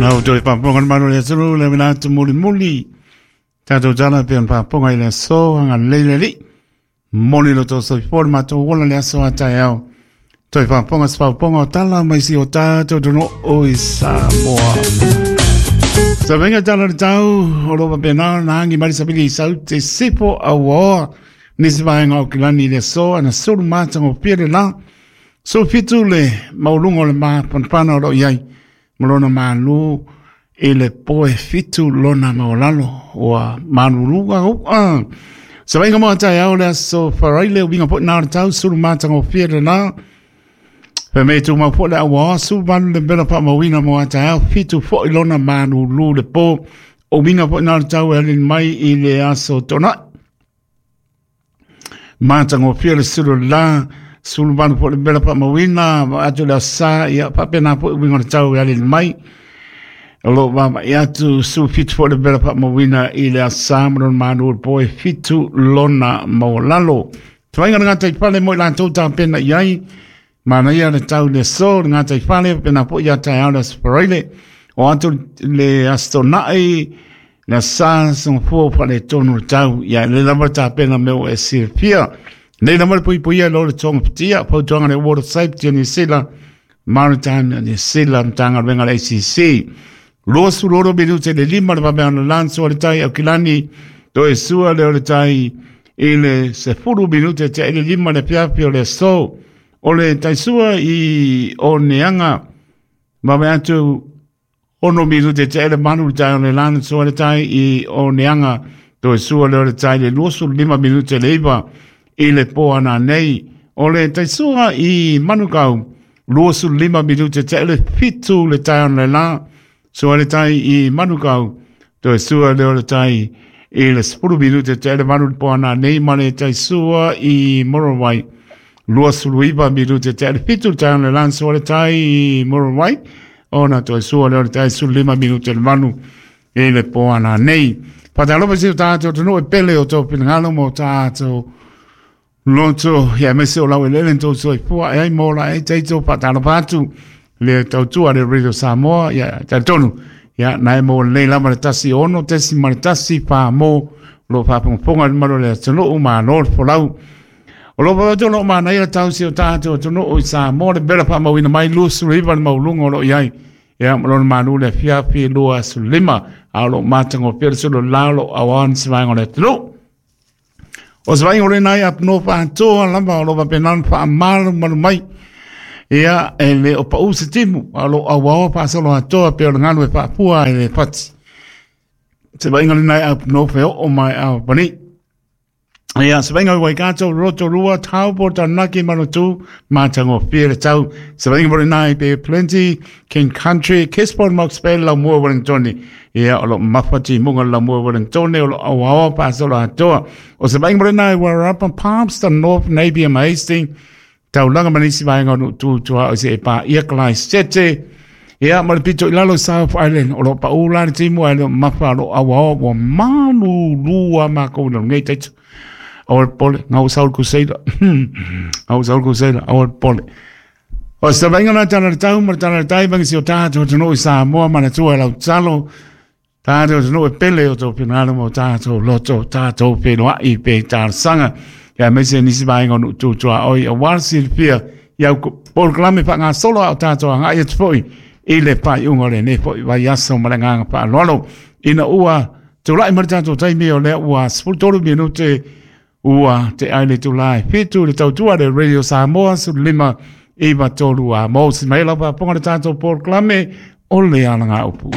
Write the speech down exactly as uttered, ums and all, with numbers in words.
Nau toi paponga le malo le atunu le mina atu muli muli. Tātou tala pe on paponga i le aso anga leile li. Moli lo tō soifua le matou ola le aso a taeao. Toi paponga se paponga o tala mai si o tātou tono o i Samoa. Sa venga tala le tau o lo papena na angi mari sabili i sau te sipo au nisi vaenga o kilani i le aso ana sulu mātanga o pia le la. So fitu le maulunga o le mapanapana o lo iai. Malona malu i le poe fitu lona maolalo ua maluluga u'a. Sa vainga moa taeao le aso faraile o winga po nā le tau sulu mātanga o fia le la. Pe me tu mau po le awa su malu le mela pa mawina moa taeao fitu fo i lona malulu le po. O winga po nā le tau e alin mai i le aso tona. Mātanga o fia le sulu la. Sulu manu po le mela pa mawina, atu le asa, ia papena po winga le tau e alin mai. O lo mama i atu su fitu po le mela pa mawina i le asa manon manu le poe fitu lona maolalo. Tuainga le ngātai pale mo i lātou tā pena i ai, mana ia le tau le so le ngātai pale, pena po ia taeao le aspareile. O atu le astonai, le asa songfua pa le tonu le tau, ia le lama tā pena meo e sirfia. Nei lama le puipuia lo le tonga pitia, pautuanga le Water Safety o New Zealand, Maritime New Zealand, tanga wenga le A C C. Lua suloro minute le lima le papeana lanso le tai au kilani, toe sua le o le tai i le sefuru minute te le lima le piapi o le so. O le tai sua i o neanga, mame atu ono minute te le manu le tai o le lanso le tai i o neanga, toe sua le o le tai le lua sulu lima minute le iwa. I le poana nei, o le taisua i Manukau, lua sulu lima minute te le fitu le tai on le la, sua le tai i Manukau, toe sua le o le tai i le sepulu minute te le manu le poana nei, ma le taisua i Morowai, lua sulu iwa minute te le fitu le tai on le la, sua le tai i Morowai, ona toe sua le o le tai sulu lima minute le manu i le poana nei. Patalopa si o tātou tonu e pele o tō pinangalo mo tātou loto, ia mese o lau e lele tō soifua, e ai mōla e teito patalopa atu le tautua le Radio Samoa, ia talitonu, ia nai mō lei lama le tasi ono, tesi ma le tasi, pā mō, lo pāpongaponga le malo le atunuu, ma lō le folau. O lo pāpātu lo mana ia tau si o tātou atunuu i Samoa, le bela pāmauina mai lusu le iwa le maulunga o lo iai, ia malona manu le fiafi lua sulima, a lo mātango pia le sulu lalo awan si vaenga o le atunuu. O se vainga o le nai apno whaantoa lama o lo papenan wha amalu malu mai. Ia e le o pau se timu a lo awao paasolo atoa pe o le ngalu e whaapua e le pati. Se vainga o le nai apno wheo o mai a pani. Ia se vainga o Waikato, Rotorua, Taupo, Taranaki, Manatu, Mātango, Pia le tau. Se vainga o le nai pe Plenty, King Country, Kisborne, Moxbay, Laumua, Wellingtoni. Ia o lo mawhati munga Laumua, Wellingtoni, o lo awao paasolo atoa. O se vainga o le nai Wairarapa, Palmerston, North, Napier, Hastings, Taulanga manisi vaenga o nuutuutua o se e pā ia kalai sete. Ia ma le pito i lalo South Island, o lo paula le timu ai lo mawha lo awao wa manu lua mākou na ngei teitu. Awal pole, ngau saul kuseila. Ngau saul kuseila, awal pole. O se vainga na tana le tau, ma le tana le tai, vangi si o tātou tonu i Samoa, mana tua lau talo. Tātou tonu e pele o tō pinalo mo tātou loto, tātou penoa i pe tārsanga. Ia mese nisi vaenga o nuutuutua oi, a warsi le pia, ia polokalame pa ngā solo au tātou a ngā ia tupoi, i le pai unga le ne poi vai aso ma le nganga pa aloalo. Ina ua, tūlai ma le tātou taimi o lea ua sefulu minute, ua te aile tūlai fitu le tautua le Radio Samoa sulu lima iwa tolu a mō si mai lau paponga le tātou polokalame o le alanga upu.